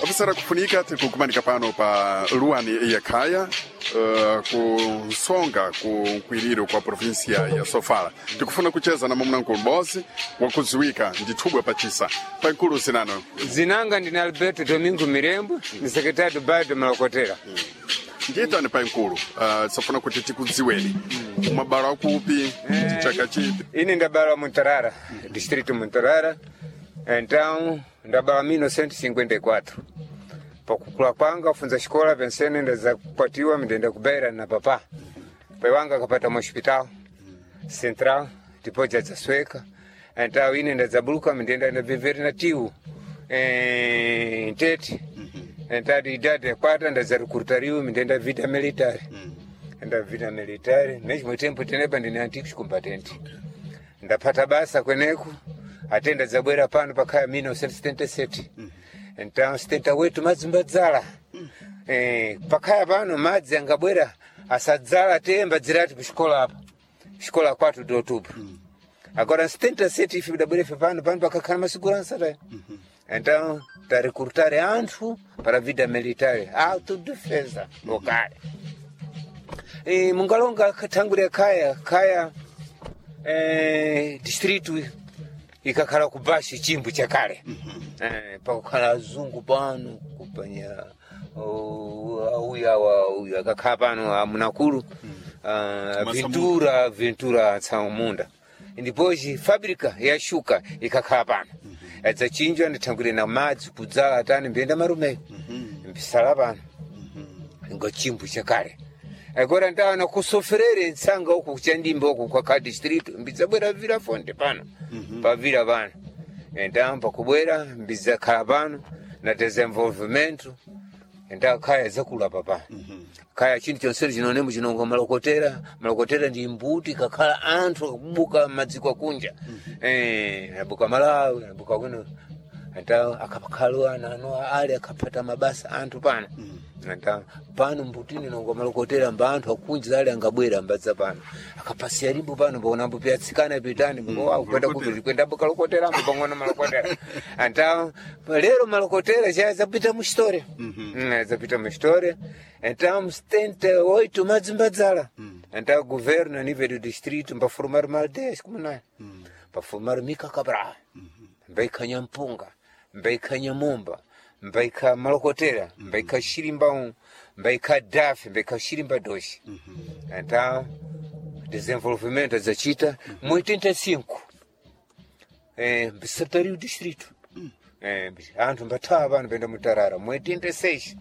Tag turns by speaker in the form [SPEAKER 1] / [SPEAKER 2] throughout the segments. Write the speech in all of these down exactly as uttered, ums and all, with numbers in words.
[SPEAKER 1] Ofisera kufunika tikukumanika pano pa luwani ya khaya uh, kusonga ku nkwiriro kwa provinsia ya Sofala. Tikufuna kucheza na mwamuna m'bodzi wakudziwika ndi thubwa pachisa pankulu zinano.
[SPEAKER 2] Zinanga ndine Alberto Domingo Mirembo, ni sekretari do bairro de Malokotera.
[SPEAKER 1] Ndiyitani pankulu, uh, tisafuna kuti tikudziweni mwabala akupi chaka chipi?
[SPEAKER 2] Ine ndabala Muntarara, distrito Muntarara. Então ndabala mil novecentos e cinquenta e quatro. Pakukula kwanga funza xikola pensene ndazakwatiwa ndenda kubeira na papa. Pai wanga akapata mu hospital central, depois jadzasweka. Então ine ndadzabuluka ndenda ndabvevere na tiu eh, ntete. Então de idade ya kwata ndadzarekurutariwe ndenda vita military. Ndavita military mesmo tempo tenepa ndine antiques combatente. Ndapata basa kweneku atenda zabwera pano pakhaya mil novecentos e setenta e sete. Então setenta e oito madzi mbadzala. Eh, pakhaya pano madzi angabwera asadzala temba dzirati kuxikola apa xikola quatro de outubro. Agora em setenta e sete ife bidabwera ife pano pano pakakhala masigurança ta. Então tarekurutare anthu para a vida militar, autodefesa local. Eh, mungalonga thangwi ya khaya khaya eh, distrito ikakhala kubashi chimbu chakale. Eh, pakukhala azungu pano kupanya uyu awa uyu akakhala pano amunakulu uh, Ventura Ventura Tsaumunda. Ndipoji fábrica ya shuka ikakhala pano adzachinjwa ndithangwire na madzi kudzala atani mbiyenda marumeyo mbisala pano ngo chimbu chakale. Agora ndawana kusoferere ntsanga uku kuchandimba uku kwa ka distrito mbidzabwera vira fonte pano pavira pano. Então pakubwera mbidzakhala pano na desenvolvimento. Então khaya zakulapa pano khaya chinthu chonsene chinonemo chinonga malokotera. Malokotera ndi mbuti kakhala anthu akubuka madziko akunja, eh, abuka Malawi, abuka kuno. Então akakhala ana ano ali akaphata mabasa anthu pano. Então pano mbutini nonga malokotera mba anthu akunja ali angabwera mbadza pano akapasiya limbo pano paonambo piyatsikana pitani kwenda kupiti kwenda bukalokoterambo pang'ono malokotera. Então lero malokotera cha zapita mu história, mm, zapita mu história. Então setenta e oito madzi mbadzala. Então governo a nível do distrito mbaformar uma aldeias comunais, mbaformar Mika Cabral, mbaikha Nyampunga, mbaikha Nyamumba, mbaikha Malokotera, mbaikha Xirimba um, mbaikha Dafe, mbaikha Xirimba dois. Então desenvolvimento zacita mu oitenta e cinco eh, mbisatari o distrito. Eh, anthu mbathawa pano penda Mutarara mu oitenta e seis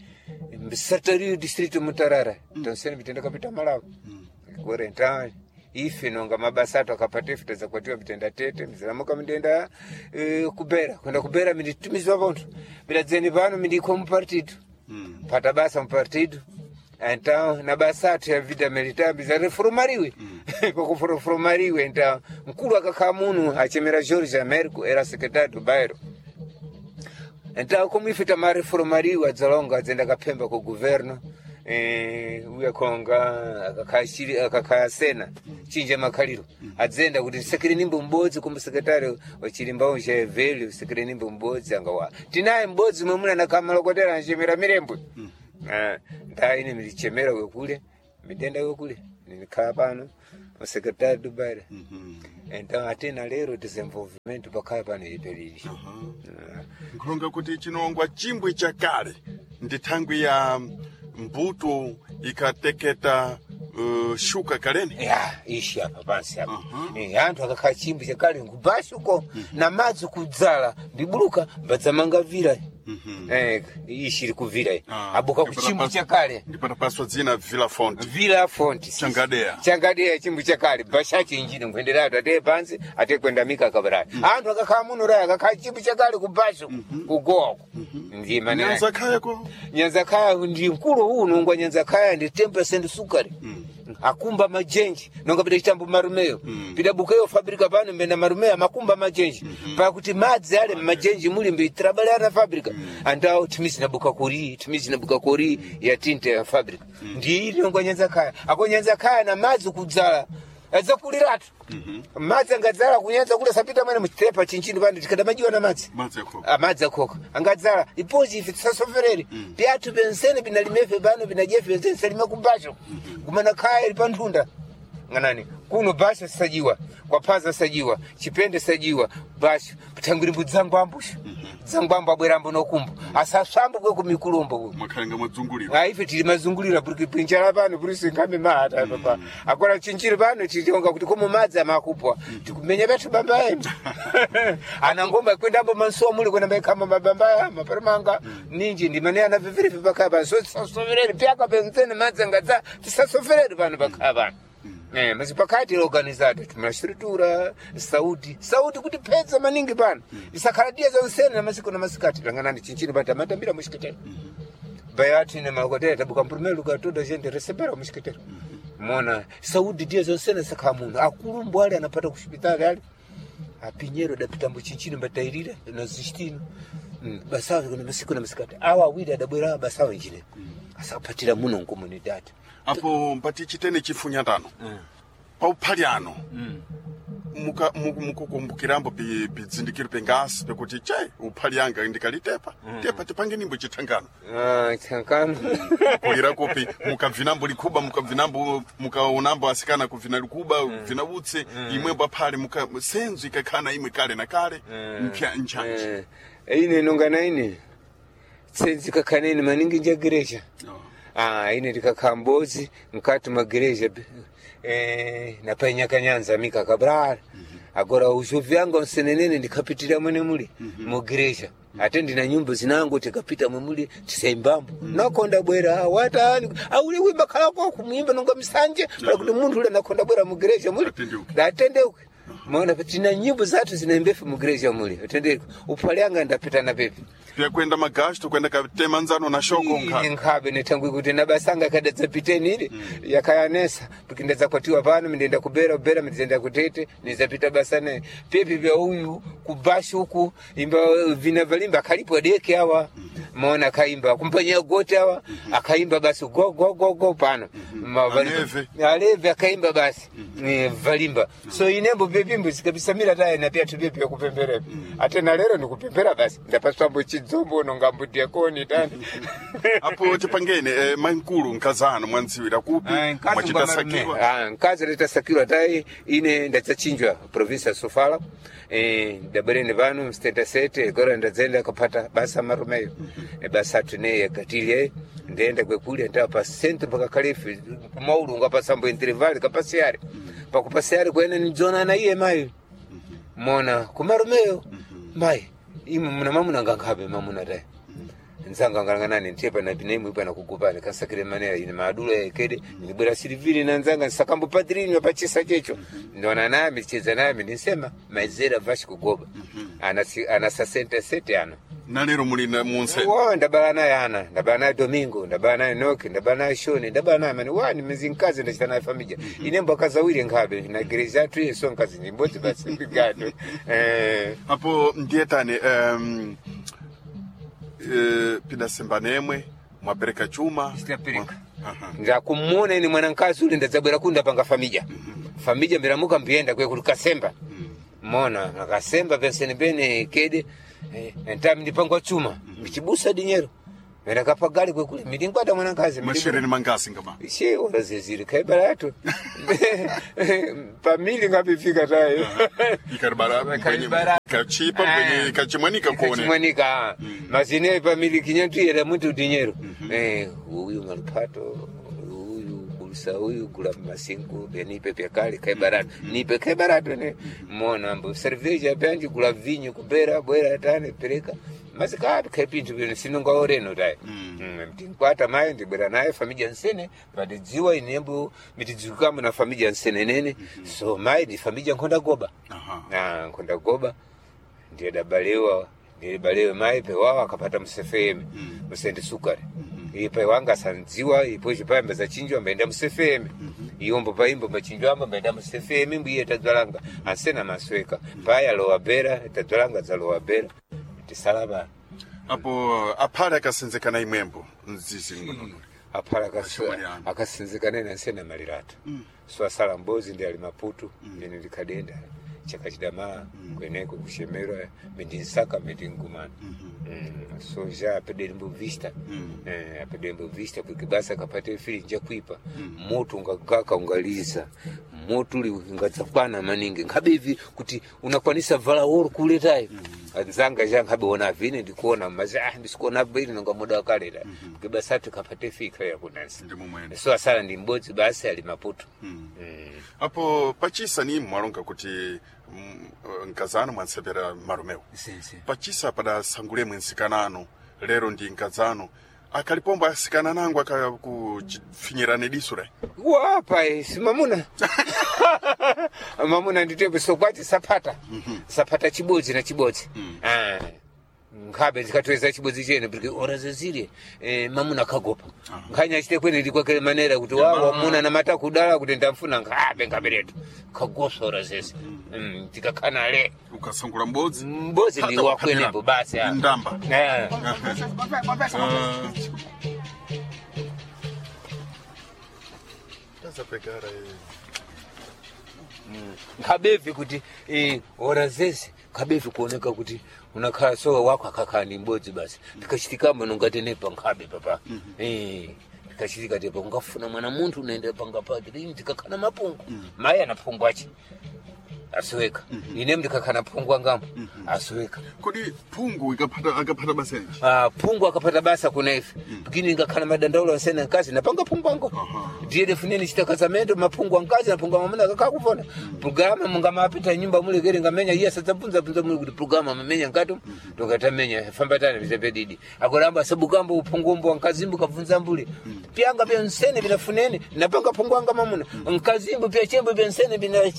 [SPEAKER 2] mbisatari o distrito Mutarara. Então sene mitenda kapita Malawi. Agora então ife nonga mabasa ato akapata ife tazakwatiwa mitenda tete miziramuka mitenda eh, kubera kwenda kubera minditumizwa pontho midadzeni pano mindikho mupartido pata basa mupartido. Então na basa athu ya vida militar bizareformariwe pakuforomariwe. Então mkulu akakhala muno achemera George Americo era secretário do bairro. Então como ife tamareformariwe adzalonga adzenda kaphemba ku governo eh, uya konga akakhala akakhala sena chinja makhaliro adzenda kuti sekere nimbo m'bodzi como sekretari wachilimbawo cha velho sekere nimbo m'bodzi angawa tinaye m'bodzi mwe muna nakhamalokotera anchemera Mirembwe. Ah, nda ine milichemera wekule midenda wekule nilikhala pano o secretário do bairro. Então até na lero desenvolvimento pakhala pano ipelili.
[SPEAKER 1] Nkulonga kuti chinongwa chimbwi chakale ndi thangwi ya mbuto ikateketa uh, shuka kaleni.
[SPEAKER 2] Ya ishi apa pansi apa. Eh, anthu akakhala chimbu chakale nkubasi uko na madzi kudzala ndibuluka mbadzamanga vira. Eh, ishi iri kuvira iyi.
[SPEAKER 1] Ah,
[SPEAKER 2] abuka ku chimbu chakale.
[SPEAKER 1] Ndipatapaswa dzina Villa Fonte.
[SPEAKER 2] Vila Fonte.
[SPEAKER 1] Changadeya.
[SPEAKER 2] Changadeya chimbu chakale bashachi injini nkuenderatu ateye pansi ateye kwenda mika kabarani. Anthu akakhala muno raya akakhala chimbu chakale kubasi kugowa uko ndiye manena.
[SPEAKER 1] Nyanza khayako.
[SPEAKER 2] Nyanza khaya ndi mkulu uwu nongwa nyanza khaya ndi ten percent sukari akumba majenji nonga pita chitambo marumeyo pita bukeyo fabrika pano mbenda marumeyo amakumba majenji pakuti madzi ale mmajenji muli mbi trabalhar na fábrica. Andao timizi nabuka kuri timizi nabuka kuri ya tinte ya fábrica ndi ili nongwa nyanza khaya ako nyanza khaya na madzi kudzala. Adzakuliratu. Madzi angadzala kunyanza kule sapita mwene muchitepa chinchini pano tikadamajiwa na madzi.
[SPEAKER 1] Madzi akhoka.
[SPEAKER 2] Amadzi akhoka angadzala ipozi ife tisasoferere pyathu pensene pinalimefe pano pinajefe pensene salime kubacho kumana khaya ili panthunda ng'anani kuno basho sajiwa kwaphaza sajiwa chipende sajiwa basho pathangwiri mbudzangwambusha dzangwambo abwerambo nokumbo asaswambo kwe kumikulumbo kuno
[SPEAKER 1] Mwakhalenga mwadzungulira.
[SPEAKER 2] Ah, ife tili mazungulira puri pinjala pano puri singambe mahata papa akora chinchiri pano titonga kuti komo madzi amakupwa tikumenya pathu bamba emu ana ngomba kwendambo mansuwa muli kwenda maikhamba mabamba aya maparamanga ninji ndimane ana vivirife pakhala pano so tisasoferere pyaka penzene madzi angadza tisasoferere pano pakhala pano Eh, mas pakati organizado timashiritura sauti sauti kuti pedza maningi pano isakhala dia zansene na masiku na masikati langanani chinchini pati amatambira mushikitero bayati ne makotera tabuka mpurumelo katoda gente recebera mushikitero mona saudi dia zonsene sakha muno akulumbu ali anapata kushipitali ali apinyero dapita mbuchinchini mbatairira na zishtino mm. basawe kuna masiku na masikati awa awiri adabwera basawe njine asapatira muno nkomunidade
[SPEAKER 1] Apo mpati chitene chifunyatano. Pauphali ano. Muka muku- mukukumbukirambo pi- pidzindikiro pengasi pekuti che uphali anga ndikalitepa tepa tipange nimbo chithangano
[SPEAKER 2] ah, chankano
[SPEAKER 1] kulira kupi mukabvinambo likhuba mukabvinambo mukaonambo asikana kubvina likuba kubvina utsi imwembo aphali muka senzo ikakhala imwe kale na kale mpya nchanji
[SPEAKER 2] Eh, ine nonga ine tsenzi kakhanene maningi njagereja ah ine ndikakhala mbozi mkati magereja eh napainyaka mika kabral agora uzhovi anga nsenenene ndikapitira mwene muli mugereja ate ndina nyumba zinango tikapita mwemuli tisaimbambo nakonda bwera watani auli wimba khalako kumwimba nonga misanje pala kuti munthu ule nakonda bwera mugereja muli
[SPEAKER 1] Atendeuke.
[SPEAKER 2] atendeuke maona tina nyimbo zathu zinaimbefe mugereja muli atendeuke uphale anga ndapita na pepe
[SPEAKER 1] pyakwenda magasto kwenda katema nzano na shoko
[SPEAKER 2] ine
[SPEAKER 1] nkhala
[SPEAKER 2] nkhabe nethangwi kuti nabasanga kadadzapiteni ile yakayanesa pikindadzakwatiwa pano mindenda kubera kubera mindenda kutete nizapita basa ne pepi vya uyu kubashi uku imba vina valimba akhalipo adeke awa maona akaimba kumpanyia goti awa akaimba basi go go go go pano Ma- valimba.
[SPEAKER 1] Aleve.
[SPEAKER 2] aleve akaimba basi eh, valimba so inembo pepimbo zikabisamira taye na pyathu pepi yakupemberepo ate na lero ndikupembera basi ndapaswambo chidzombo nongambo diakoni tani
[SPEAKER 1] apo tipangene eh, mankulu nkazano mwandziwira kupi mwachitasakirwa
[SPEAKER 2] Ah, nkazi litasakirwa tayi ine ndacachinjwa provinsi ya sofala eh, ndabwerene pano msitenta sete kora ndadzenda kapata basa marumeyo Eh, basa atune yakatilye ndenda kwekulya ndaa pa centro pakakhalefe kumaulunga pasambo intervali kapasiyari pakupasiyari kwene nidzona na iye mayi mona kumarumeyo mayi imwe muna mamuna ngankhabe mamuna tayi nzanga ngalang'anani ntepa na pinemwe pana kugupani kasakire manera ine maadula ekede nibwera silivili na nzanga nsakambo padrini pachisa checho ndona nami cheza nami ndinsema maizera vashi kugoba ana si- ana sasente sete ana
[SPEAKER 1] na lero muli na munse
[SPEAKER 2] wa ndabala naye ana ndabala naye domingo ndabala naye noki ndabala naye shoni ndabala naye mani wani mizinkazi ndachita naye famija inembo akazawire nkhabe na gereza atu yeso nkazi ndimbodzi basi mbigato eh
[SPEAKER 1] apo ndiyetani um, eh, pidasembanemwe mwapereka chuma
[SPEAKER 2] Sitapereka.
[SPEAKER 1] Aha.
[SPEAKER 2] ndakumuna ine mwanankazi ule ndadzabwera kunda panga famija famija mbiramuka mbiyenda kwe kuti kasemba mona akasemba pensene pene kede eh, ntami ndipangwa chuma mbichibusa dinyero ndakapagali kwekule milinkwata mwanankazi
[SPEAKER 1] mashereni mangasi ngama
[SPEAKER 2] she ora zeziri khaibaratu pamili ngapifika tayo
[SPEAKER 1] ikaribara
[SPEAKER 2] Ikaribara.
[SPEAKER 1] kachipa kwenye kachimwanika kuone
[SPEAKER 2] kachimwanika mazine pamili kinyatuyera muntu dinyero eh uyu malupato uyu kulusa uyu gula masinku benipe pyakale khaibaratu nipe khaibaratu ne mona mbo cerveja pyanji gula vinyo kubera bwera tane pereka masikapi khaipintu bino sinonga oreno tayo mtinkwata mayi ndibwera naye famija nsene padidziwa inembo mitidzikamo na famija nsene nene so mayi ndi famija nkhonda goba
[SPEAKER 1] Aha.
[SPEAKER 2] na nkhonda goba ndiye dabalewa ndiye balewe mayi pewawa akapata msefeme musende sukari iye pai wanga asandziwa ipo chipayamba zachinjwa mbaenda musefeme iyombo paimbo mbachinjwamba mbaenda musefeme mbiye tadzwalanga ansena masweka paya alowa bera tadzwalanga dzalowa bera tisalaba
[SPEAKER 1] apo aphale akasenzekana imwembo mzizi ngonono
[SPEAKER 2] Aphala
[SPEAKER 1] Achimwali anu.
[SPEAKER 2] akasinzikane nansena malirata. So asala mbozi ndi ali Maputo, ine ndikadenda chakachidama kweneko kushemerwa mindinsaka mindingumana. Mm, so já apedembo vista, eh, apedembo vista porque basa kapate fili nja kuipa moto ungagaka ungaliza moto uli ungadzakwana maningi nkhabe ivi kuti unakwanisa vala woro kuletayo anzanga ja nkhabe ona vine ndikuona mazi ah ndisikuona bwino nonga muda wakaleta porque basa tikapate fika yakunansi
[SPEAKER 1] Ndi mumwene.
[SPEAKER 2] so asala ndi mbodzi basi ali Maputo. Mm.
[SPEAKER 1] Apo pachisa ni mwalonga kuti mm, nkazano mwansepera malumewo.
[SPEAKER 2] Sim, sim.
[SPEAKER 1] Pachisa padasangulemo nsikanano lero ndi nkazano akalipombo asikana nangu akakufinyirane diso re.
[SPEAKER 2] Wapa si mamuna mamuna nditepo sokwati sapata sapata chibodzi na chibodzi. Ah, nkhabe zikatweza chibodzi chene porque ora zezile eh, mamuna akagopa nkhanya achite kwene ndikwakele manera kuti wa wamuna namata kudala kuti ndamfuna nkhabe nkhaberetu kagosa ora zeze. Mm, tikakhana le
[SPEAKER 1] Ukasangula mbodzi
[SPEAKER 2] mbodzi ndi
[SPEAKER 1] Hata
[SPEAKER 2] wakwenepo basi ah.
[SPEAKER 1] Ndamba.
[SPEAKER 2] Eh.
[SPEAKER 1] Tazapegara eh.
[SPEAKER 2] Nkhabevi kuti eh, ora zeze nkhabevi kuoneka kuti unakhala sowa wako akakhala ni mbodzi basi pikachitikamo nungatenepa nkhabe papa. Eh, pikachitika tepa ungafuna mwana munthu unaenda panga pake lini tikakhala mapungu mayi ana phungu ache asiweka ine ndikakhala phungu angamo asiweka.
[SPEAKER 1] Kodi phungu ikapata akapata basa yanji?
[SPEAKER 2] Ah, phungu akapata basa kuna ife pikini ngakhala madandaulo ansena nkazi napanga phungu ango ndiye defuneni chita kazamento maphungu ankazi naphungu amamuna akakakuvona programa mungamapita nyumba mulekere ngamenya iye asadzabvunza bvunza muli kuti programa mamenya nkati tokatamenya fambatana vizepe didi akolamba asabukambo uphungumbo ankazimbu kabvunza mbuli pyanga pya nsene pinafunene napanga phungu anga mamuna nkazimbu pya chembo pya nsene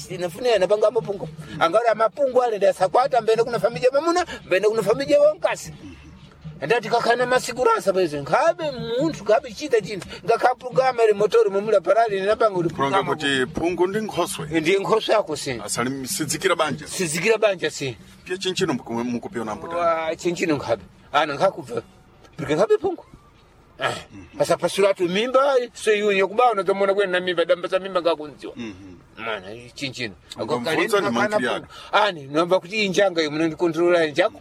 [SPEAKER 2] pinafunene napanga maphungu angati amapungu ale ndasakwata mbene kuna familia mamuna mbene kuna familia wankasi ndati kakhana masikuransa paizo nkhabe munthu khabe chita chinthu ngakha programa ili motori mumula parali ninapanga kuti
[SPEAKER 1] Kulonga
[SPEAKER 2] programa
[SPEAKER 1] kuti phungu ndi nkhoswe
[SPEAKER 2] ndi nkhoso yako si
[SPEAKER 1] asali sidzikira banja
[SPEAKER 2] sizikira banja si
[SPEAKER 1] pye chinchino muku- mukupiona mbuta
[SPEAKER 2] wa chinchino nkhabe ana nkhakubva porque nkhabe phungu asapasulatu mimba seyunye kubaona unadzamona kwene na mimba damba za mimba ngakunziwa mwana chinchino
[SPEAKER 1] Ungamvunza ndi mankhili yako.
[SPEAKER 2] ani nomba kuti injanga iyo munondikontrola njako.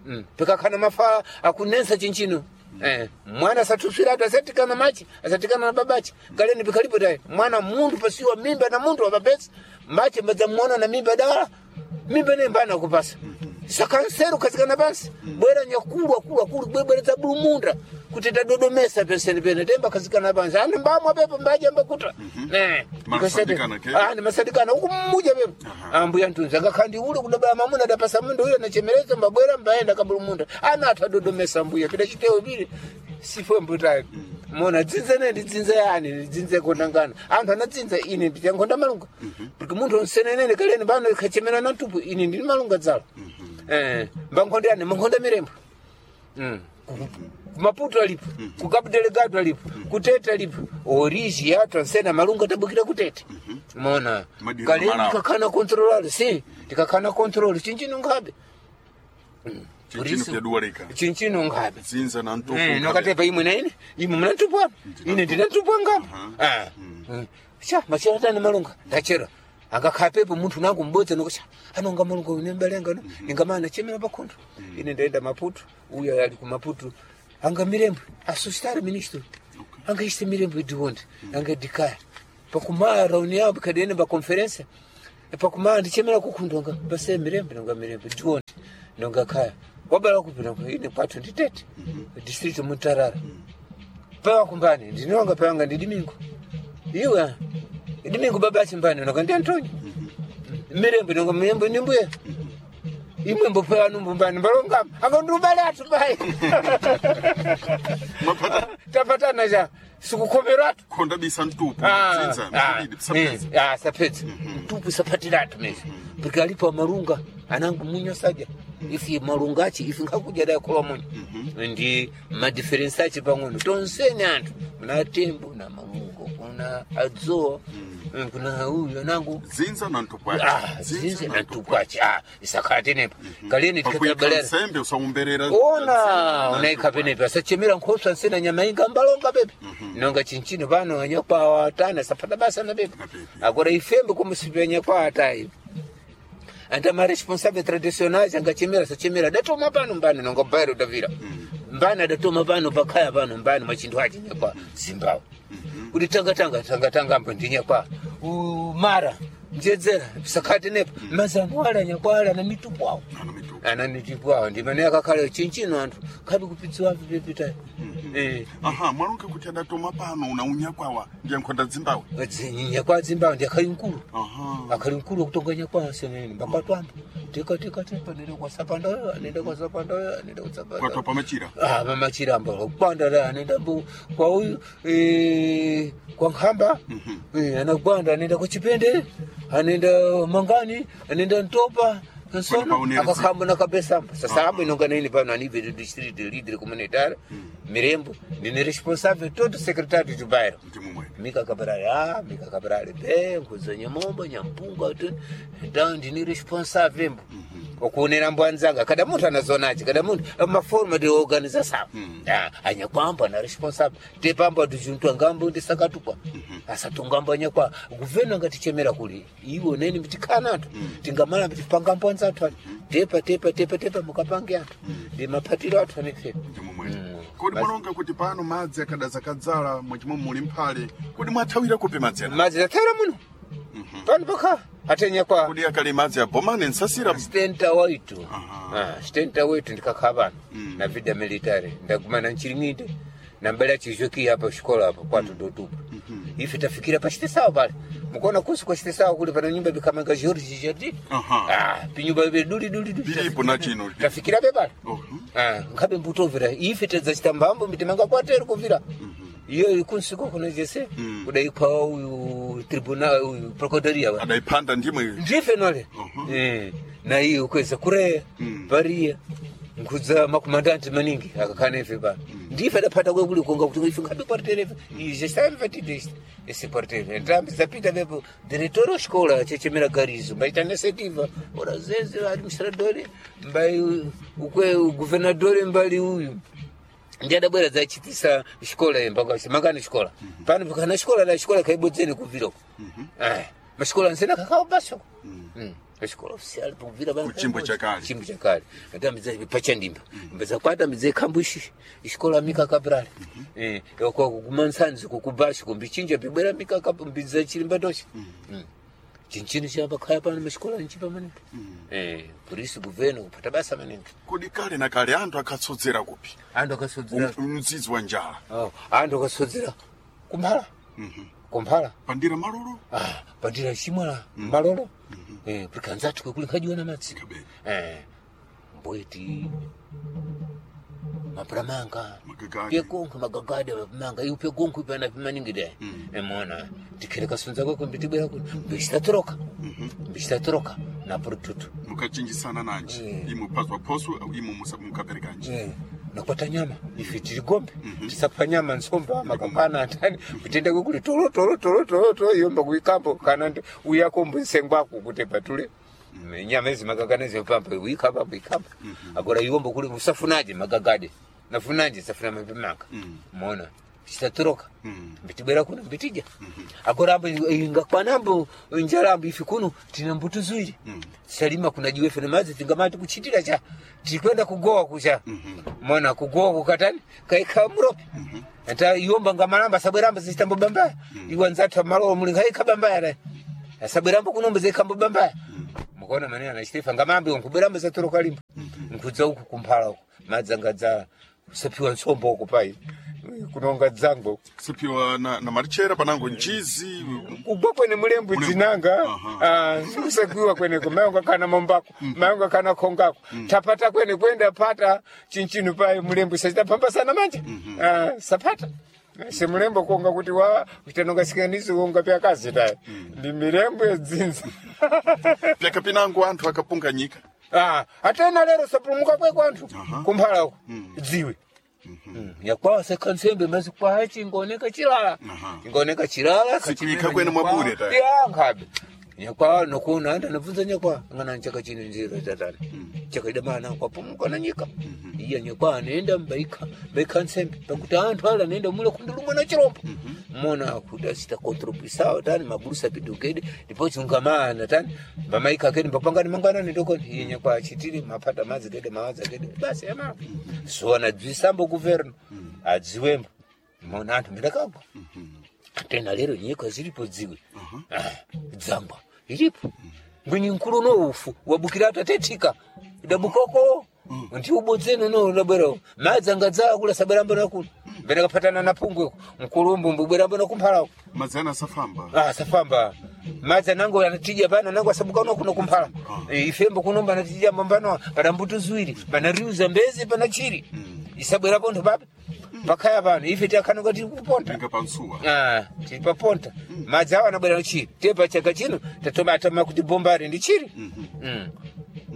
[SPEAKER 2] Mm. Pekakhana mafa akunensa chinchino. Eh, mwana asatusiratu asatikana machi asatikana na babachi kaleni pikalipo tayi mwana mundu pasiwa mimba na mundu wapapesa machi mbadzamuona na mimba dala mimba nembana kupasa sakanseru kazikana pansi bwera nyakulu akulu akulu bwebweredza bulumunda kuti tadodomesa peseni pene temba kazikana pansi ani mbamwa pepo mbaja mbakuta. Eh,
[SPEAKER 1] Masadikana ke?
[SPEAKER 2] ani masadikana uku mmuja pepo ambuya ntunzi akakhandi ule kudabala mamuna adapasa mundu uyo nachemerezo mbabwera mbaenda kabulumunda ana athu adodomesa mbuya pita chitewo pili sifwe mbutayo mona dzinza ne ndidzinza yani ndidzinza kondangana anthu anadzinza ine ndiyankhonda malunga porque munthu onsenenene kaleni pano ikhachemera na ntupu ine ndini malunga dzalo. Eh, mbankhonda yani mankhonda mirembo. Mm. Ku- ku Maputo alipo ku Cabo Delgado alipo kutete alipo origi yathu ansena malunga tabukira kutete mona
[SPEAKER 1] Madiri
[SPEAKER 2] kaleni
[SPEAKER 1] malawo.
[SPEAKER 2] tikakhala controlalo si tikakhala control chinchino nkhabe
[SPEAKER 1] chinchino pyaduwalika
[SPEAKER 2] chinchino nkhabe
[SPEAKER 1] dzinza na mtupu
[SPEAKER 2] Eh, nokatepa imwe na ine imwe munatupwana ine ndinatupwa ngapo. Ah. Mm. Sha machera tani malunga ndachera angakhapepo munthu nangu mbodzi nokusha anonga malunga une mbalenga no ningamana chemera pakhondo ine ndaenda Maputo uyo ali ku Maputo anga mirembo asustare ministro anga iste mirembo idionde anga dikaya pakumaya rauni yabo kadene ba conference pakumaya ndichemera kukhundonga base mirembo nonga mirembo dionde nonga kaya wabala kupina ine kwathu nditete district Mutarara pawa kumbani ndinonga pawanga ndi Dimingo iwe Dimingo baba achimbani nonga ndi Antonio mirembo nonga mirembo ni mbuya imwe mbopewa numbumbani mbalongama akandubale atu bai
[SPEAKER 1] Mwapata
[SPEAKER 2] tapatana cha sikukhomeratu
[SPEAKER 1] khonda bisa mtupu
[SPEAKER 2] Ah,
[SPEAKER 1] dzinza
[SPEAKER 2] ah,
[SPEAKER 1] mzibidi pisapeza
[SPEAKER 2] eh, ah, sapedza mtupu sapatiratu mezi porque alipo amalunga anangu munyo sadya ifi malunga achi ifi nkakudya dakhola munyo ndi madiferensi achi pang'ono tonseni anthu muna tembo na malungo kuna Mara adzoa mm. Kuna uyu anangu
[SPEAKER 1] Dzinza na ntupwachi.
[SPEAKER 2] Ah, zinze na ntupwachi ah isakati nepa kaleni
[SPEAKER 1] Pakuika
[SPEAKER 2] tikabalera
[SPEAKER 1] nsembe usaumberera.
[SPEAKER 2] ona unaika penepa asachemera nkhosa nsena nyama inga mbalonga pepe nonga chinchino pano anyakwawa atana sapata basa na pepe
[SPEAKER 1] Na pepe.
[SPEAKER 2] agora ifembe kumusipi anyakwawa atayi anta ma responsable traditionnais angachemera sachemera adatoma pano mbani nonga bairo davira mbani adatoma pano pakhaya pano mbani mwachinthu achi nyakwa zimbabwe kuti tanga tanga tanga tanga ambo ndinyakwa mara njedzera sakhati nepa mazano ala nyakwa ala na mitupu awo
[SPEAKER 1] Ana mitupu.
[SPEAKER 2] ananitipwawo ndimene akakhala chinchino anthu khabi kupidziwa pipita eh
[SPEAKER 1] Aha, mwalonga kuti adatoma pano una unyakwawa ndiye nkhonda dzimbawe.
[SPEAKER 2] nyakwa dzimbawo ndi akhali mkulu
[SPEAKER 1] Aha.
[SPEAKER 2] akhali mkulu akutonga nyakwa senene mbakwatwamba tika tika tika nende kwasapandayo anende kwasapandayo anende kwasapandayo
[SPEAKER 1] Kwatwa pamachira.
[SPEAKER 2] ah mamachiramba kwanda la anenda mbu kwa uyu eh, kwa nkhamba eh, anagwanda anenda kwa chipende anenda mangani anenda ntopa
[SPEAKER 1] Kwani
[SPEAKER 2] nsono
[SPEAKER 1] paonera
[SPEAKER 2] akakhamba nakabesamba sasa apo inonga nini pano anive district leader communitaire mirembo ndine responsible todo secretary do bairro
[SPEAKER 1] Ndimumwe.
[SPEAKER 2] Mika Cabral A, Mika Cabral B, nkudza nyamombo, nyampunga, tu- então ndini responsável mbo. Okuonera mbwanzanga, kada munthu anazonachi, kada munthu maforma de organização. Ah, anyakwamba na responsável. Tepamba tujuntu ngambo ndisakatukwa. Asatungamba anyakwa, governo ngatichemera kuli. Iwo neni mtikana anthu. Tingamala mtipanga mbwanza anthu ali. Tepa tepa tepa tepa mukapange anthu. Ndi maphatiro athu anefe.
[SPEAKER 1] Ndimumwe. Kodi mwalonga kuti pano madzi akadaza kadzala mwachimwe muli mphale. Kodi mwathawira kupi madzi ana?
[SPEAKER 2] Madzi athera muno. Pano pakha atenya kwa
[SPEAKER 1] Kodi akali madzi abomane nsasira.
[SPEAKER 2] stenta waitu ah, stenta waitu ndikakhala pano na vida military ndagumana nchiring'inde nambela chizoki apa xikola apa kwatu dotupa ife tafikira pachitesawo pale mukuona kusi kwa chitesawo kuli pana nyumba bikamanga George Jardi
[SPEAKER 1] Aha.
[SPEAKER 2] ah pinyumba ibe duli duli duli
[SPEAKER 1] Pilipo na chino.
[SPEAKER 2] tafikira pe pale
[SPEAKER 1] Mhm.
[SPEAKER 2] ah nkhabe mbutovera ife tadzachita mbambo mitimanga kwatero kuvira iyo kunsiko kuno jese kudaikwa uyu tribunal uyu procuradoria wa
[SPEAKER 1] Adaipanda ndimwe.
[SPEAKER 2] ndife nole eh na iyo kweza kureya pariya nkudza makomandanti maningi akakhana ife pano ndife adaphata kwe kuli konga kuti ife nkhabe kwarterefe izhe samvatideste ese kwartere ntambi zapita vepo diretor wa xikola chechemera garizo mbaita nesetiva ora zeze administradori mbai ukwe guvernadori mbali uyu ndi adabwera dzachitisa xikola mpaka mangani xikola pano pakana xikola la xikola kaibodzeni kubvirako eh maxikola nsena kakao basoko xikola oficial pakubvira pano
[SPEAKER 1] Kuchimbo chakale.
[SPEAKER 2] chimbo chakale atambidza pachandimba mbedza kwatambidza ikhambushi xikola Mika Cabral eh kwa kumansanzi kukubashi kumbichinja bibwera Mika Cabral mbidza chilimba doshi chinchini chapa khaya pano maxikola nchipa maningi eh polisi governo kupata basa maningi
[SPEAKER 1] Kodi kale na kale anthu akatsodzera kupi?
[SPEAKER 2] anthu akasodzera
[SPEAKER 1] Mzizi wa njala.
[SPEAKER 2] Oh, anthu akasodzera kumphala kumphala
[SPEAKER 1] Pandira malolo.
[SPEAKER 2] ah, pandira chimwala malolo eh, prikanzatu kwekuli nkhajiwa na madzi
[SPEAKER 1] Kabeni.
[SPEAKER 2] eh, mbweti mapuramanga
[SPEAKER 1] Magagadi.
[SPEAKER 2] pyekonkho magagadi mapamanga iwo pyekonkho ipana pimaningi dai emona tikhele kasunza kwako mbitibwera kuno mbicitatoroka mbicitatoroka na purututu
[SPEAKER 1] Mukachinjisana nanji. Imwe phaswa phoso imwe musa- mukaperekanji.
[SPEAKER 2] Eh, nakwata nyama ife tiri gombe tisapha nyama nsomba makapana antani kutenda kwekuli tolo tolo tolo tolo tolo yomba kuikambo kana ndi uyakombo nsengwako kuti patule nyama izi magagane zipampa uikamba uikamba agora iwombo kuli usafunaje magagade nafunaje safuna mapemanga mona chitatoroka mbitibwera kuno mbitija agora ambo ingakwanambo njala ambo ife kuno tina mbuto ziwiri tisalima kuna jiwefe na madzi tingamati kuchitira cha tikwenda kugowa kucha mona kugowa kukatani kaikha murope ata iwomba ngamalamba sabweramba zichitambo bambaya iwa nzathu malowo muli ngaikha bambaya naye asabwerambo kunombo zikhambo bambaya mukaona manene anachitefa ngamambi nkubweramba zatoroka limbo nkudza uku kumphala uku madzi angadzala kusapiwa nsombo uku pai kunonga dzango
[SPEAKER 1] Sipiwa na, na marichera panango nchizi.
[SPEAKER 2] kugwa kwene mulembo dzinanga ah, sikusakiwa kweneko mayonga kana mombako mayonga kana khongako tapata kwene kwenda pata chinchinu pai mulembo sachitapambasana manje Ah, sapata semulembo konga kuti wa kutanonga sikaniso konga pyakazi tayi ndi milembo yedzinza
[SPEAKER 1] Pyakapinango anthu akapunganyika.
[SPEAKER 2] Ah, atena lero sapulumuka kweko anthu kumphala uko dziwe Nyakwawa sekansembe mazi kwachi ingoneka chilala. Ingoneka chilala.
[SPEAKER 1] Sikuika kwene mwabure ta.
[SPEAKER 2] Ya nkhabe. Nyakwawa nokuona anda nabvunza nyakwawa ngana nchaka chino nzira tatani. Chakaida mana kwapumuka na nyika. Iya nyakwawa anaenda mbaika baika nsembe pakuti anthu ala anaenda mule kundulumwa na chirombo. Mona kuti asita contribuisawo tani mabulusa pidukede ndipo chungamana tani bamaika kene mbapangani mangwanani ndokoni iye nyakwawa achitiri mapata madzi kede mawadza kede basi yamako. So anadzwisambo kuverno adziwembo mona anthu mbendakagwa. Tena lero nyika zilipo dziwe. Ah, dzangwa ilipo ngwinyi nkulu no ufu wabukira atatetika idabukoko ndi ubodzeno no udabwera madzi angadzaa kula sabwerambo nakuno mbene kaphatana na pungweko nkulumbu mbubwerambo nakumphalako
[SPEAKER 1] Madzana asafamba.
[SPEAKER 2] ah safamba madzi anango anatija pano anango asabuka uno kuno kumphala mm. ifembo kunomba anatija mbambano pana mbuto ziwiri pana riu zambezi pana chiri isabwerapo nthu pape pakhaya pano ife tiakhanuka tiri kuponta
[SPEAKER 1] Ninga pansuwa.
[SPEAKER 2] Ah, tiri paponta madzi awo anabwera chiri tepa chaka chino tatoma atama kuti bombari ndi chiri Mm.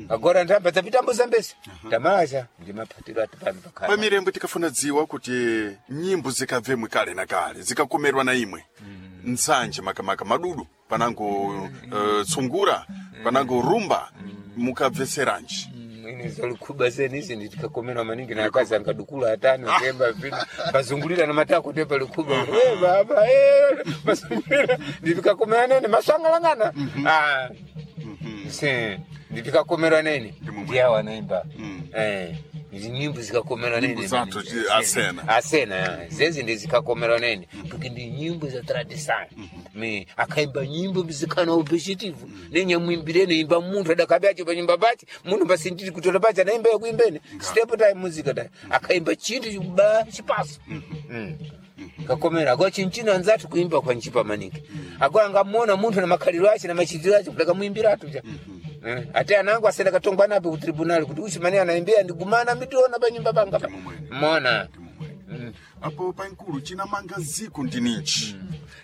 [SPEAKER 2] agora ndamba tapitambo zambezi tamaza ndi maphatiro ati pano pakhaya
[SPEAKER 1] Pamirembo tikafuna dziwa kuti nyimbo zikabvemwe kale na kale zikakomerwa na imwe nsanje makamaka madudu panango uh, tsungura panango rumba mukabveseranji
[SPEAKER 2] ine zalikhuba zenizi nditikakomerwa maningi na akazi angadukula atani temba vino bazungulira na matako tepa likhuba e baba e bazungulira nditikakomera nene masangalangana ah se nditikakomerwa nene ndiyawo anaimba eh izi nyimbo zikakomerwa nene
[SPEAKER 1] Nyimbo zathu zi- asena.
[SPEAKER 2] asena zezi ndizikakomerwa nene porque ndi nyimbo za tradição me akaimba nyimbo mzikana objetivo nenyamuimbirene imba munthu adakabe acho panyumba pache munthu pasindiri kutola pache anaimba yakuimbene step time muzika dai akaimba chinthu chikuba chipaso Mm. kakomera agora chinchino anzathu kuimba kwa nchipa maningi agora angamuona munthu na makhaliro ache na machitiro ache kuti akamuimbiratu cha Eh, ate anangu asenda katongwa nape ku tribunal kuti uchi mane anaimbira ndigumana mitiona panyumba panga pa mona
[SPEAKER 1] apo pankulu chinamanga ziko ndininji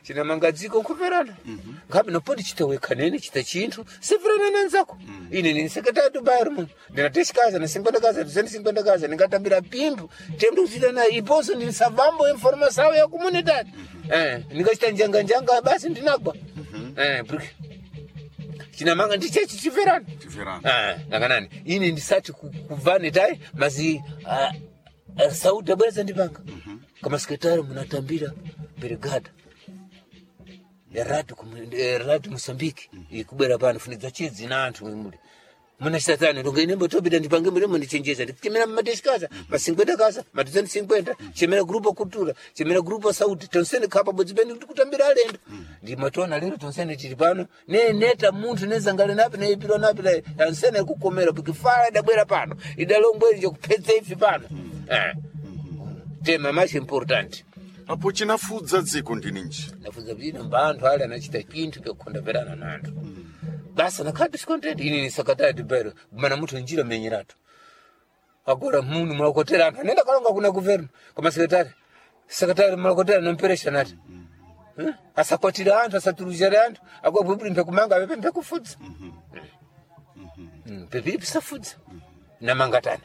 [SPEAKER 2] chinamanga dziko nkuverana ngabe nopoti chitaweka nene chita chinthu siverana nenzako ine ndini sekretari tubayari muno ndina teshikaza na cinquenta kaza duzentos e cinquenta kaza ndingatambira pimbo tendo kuchita na iponso ndini savambo informação ya comunidade eh ndingachita njanga njanga basi ndinagwa eh porque chinamanga ndichechi chiverana
[SPEAKER 1] Chiverana.
[SPEAKER 2] ah nakanani ine ndisati ku- kubva netai mazi ah, ah, sauti abwereza ndipanga kama sekretari munatambira brigada radio radio Mozambique ikubwera pano funidza chidzi na anthu muli muna satani ndonge inembo tobida ndipange mulimo ndichenjeza ndikuchemera mumateshikaza ma cinquenta kaza ma duzentos e cinquenta chemera grupo cultura chemera grupo sauti tonsene khapa bodzi pene kuti kutambira alendo ndimatona lero tonsene tili pano ne neta munthu nezangale napi neipirwa napi la tonsene kukomera pikifala idabwera pano idalombweri njekuphetsa ifi pano eh tema mais importante
[SPEAKER 1] apo chinafudza dziko ndininji
[SPEAKER 2] nafunza kuti ino mba anthu ali anachita chinthu chokukondamverana na anthu basa nakhala discontent ini nisakatati bero mana munthu njira menyeratu agora munu mulakotera anthu anenda kalonga kuna guvernu koma sekretari sekretari mulakotera nomperesha nati Eh? asakwatira anthu asaturuzire anthu agora bwibwi mpekumanga apepe mpekufudza pepiri pisafudza namangatani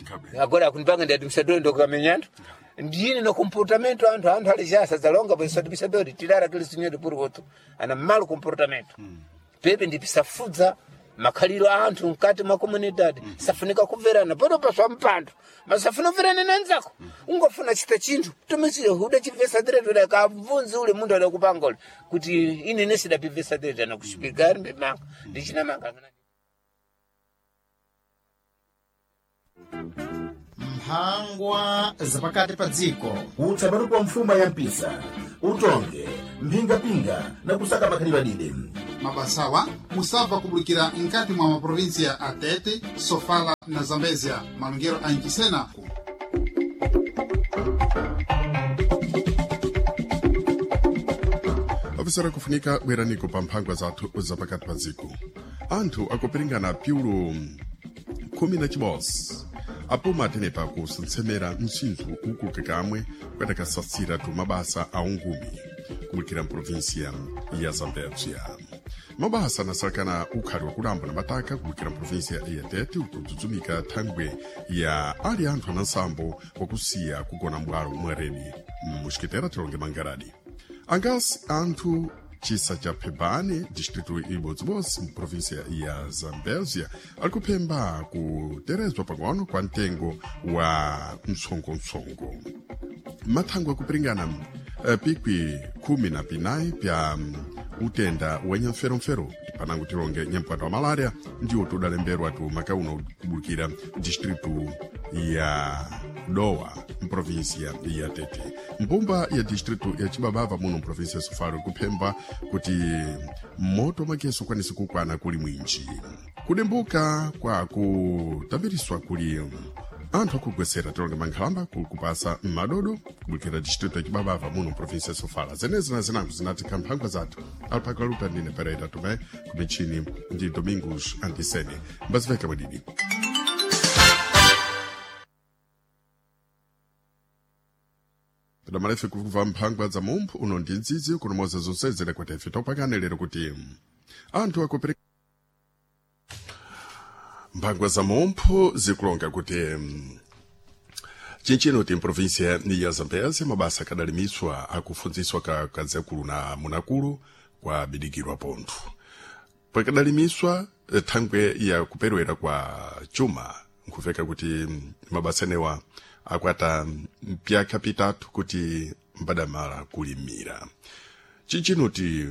[SPEAKER 1] Ngabe.
[SPEAKER 2] agora akunipanga ndi administrador ndokamenya anthu ndine no comportamento anthu anthu ali zalonga pois administrador tirar aquele senhor por outro ana malo comportamento pepe ndipisafudza makhaliro a anthu mkati mwa comunidade safunika kumverana pano paswa mpando masafuna kumverana nanzako ungofuna chita chinthu tomesire huda chivesa direto da kabvunzi ule munthu adakupanga ule kuti ine nesidapivesa direto anakushipika ari mbimanga ndichinamanga
[SPEAKER 3] mphangwa zapakati pa dziko
[SPEAKER 4] utsapatu kwa mfuma ya mpisa utonge mphingapinga na kusaka makhalidwe adide
[SPEAKER 3] mabasawa musabva kubulikira nkati mwa maprovinsia a Tete, Sofala na Zambezia malongero a Ncisena
[SPEAKER 1] Ofisera kufunika bweraniko pa mphangwa zathu zapakati pa dziko anthu akupiringana piulu khumi na chibodzi apuma atenepa kusentsemera msinthu ukuluke kamwe kwetakasasira tu mabasa a ungumi kubulikira mprovinsia ya zambezia Mabasa anasalakana ukhali wakulamba na mataka kubukira mprovinsia ya Tete ukudzudzumika thangwe ya ali anthu anansambo wakusiya kugona mbwalo mwaredi muxikitera tilonge mangaradi angasi anthu chisa cha Pebane, distrito ibodzibodzi muprovinsia ya Zambézia, ali kuphemba kuterezwa pang'ono kwa mtengo wa mtsongotsongo. Mathangwe akupiringana eh, pikwi khumi na pinayi pya mm, utenda wa nyamferomfero panango tilonge nyampwata wa malaria ndiwo tudalemberwa tu makauno kubukira distrito ya Dowa mprovinsia ya Tete. Mbumba ya distrito ya Chibabava muno mprovinsia ya Sofala kuphemba kuti moto mageso ukwanise kukwana kuli mwinji. Kudembuka kwa kutambiriswa kuli anthu akugwesera tilonge mankhalamba kukupasa madodo kubukira distrito ya Chibabava muno mprovinsia ya Sofala. Zenezi na zinango zinati kamphangwa zathu alipakaluta ndine Pereira Tomé kumichini ndi Domingos Antisene. Mbaziveka mwadidi. Pedamalefe kuva mphangwa za mumphu uno ndi ndzidzi kunomoza zonsezera kuti ife topakane lero kuti anthu akupereka mphangwa za mumphu zikulonga kuti mm, chinchino ti mprovinsia ya Zambézia mabasa akadalimiswa akufunziswa ka kadzakulu na munakulu kwa bidikirwa pontho pakadalimiswa eh, thangwe ya kuperewera kwa chuma nkuveka kuti mm, mabasa enewa akwata mpyaka pitatu kuti mbadamala kulimira chinchinoti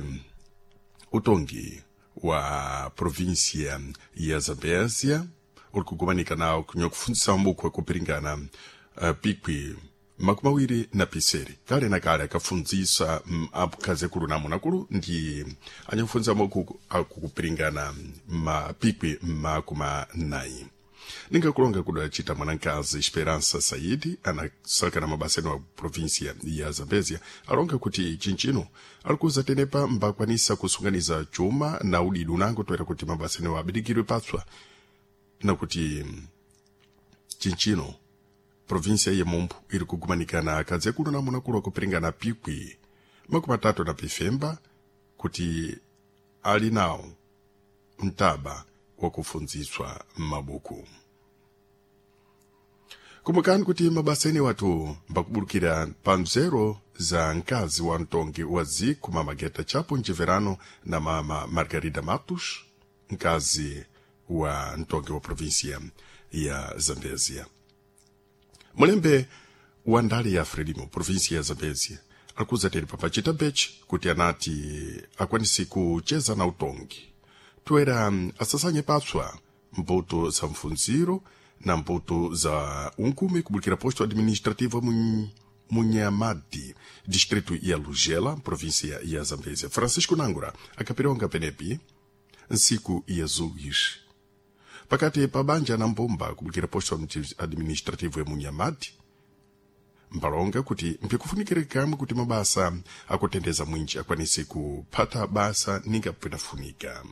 [SPEAKER 1] utongi wa provinsia ya Zambézia uri kugumanika nawo kunyakufundzisa mbuku akupiringana uh, pikwi makumi awiri na piseri kale na kale akafundzisa mm, apukhazi akulu na amunakulu ndi anyakufundzisa mbuku akukupiringana mapikwi makumi nayi ningakulonga kudacita mwanankazi Esperança Saidi anasalakana mabasa eno a província ya Zambézia alonga kuti chinchino alikuza tenepa mbakwanisa kusunganiza chuma na udidi unango toera kuti mabasa enewo abidikirwe patswa na kuti mm, chinchino província ye Mombo iri kugumanikana akadzi akulu na amunakulu akupiringana pikwi makumi atatu na pifemba kuti ali nawo mtaba wakufunziswa mabuku kumbukani kuti mabasa ene watu mbakubulukira pa mzero za mkazi wa mtongi wa ziku mama Geta Chapo mchiverano na mama Margarida Matos mkazi wa mtongi wa provinsia ya Zambezia. Mulembe wa ndale ya Frelimo provinsia ya Zambezia alikuza teri papachita bechi kuti anati akwanisi kucheza na utongi toera mm, asasanye patswa mbuto za mfunziro na mbuto za unkumi kubulukira posto administrativo mun, Munyamadi, distrito ya Lugela, província ya Zambésia. Francisco Nangura, akapironga penepi, nsiku ya Zuis. Pakati pa banja na mbumba kubulukira posto administrativo ya Munyamadi, mbalonga kuti mpikufunikire kamwe kuti mabasa akutendeza mwinji akwanise kuphata basa ninga pinafunika.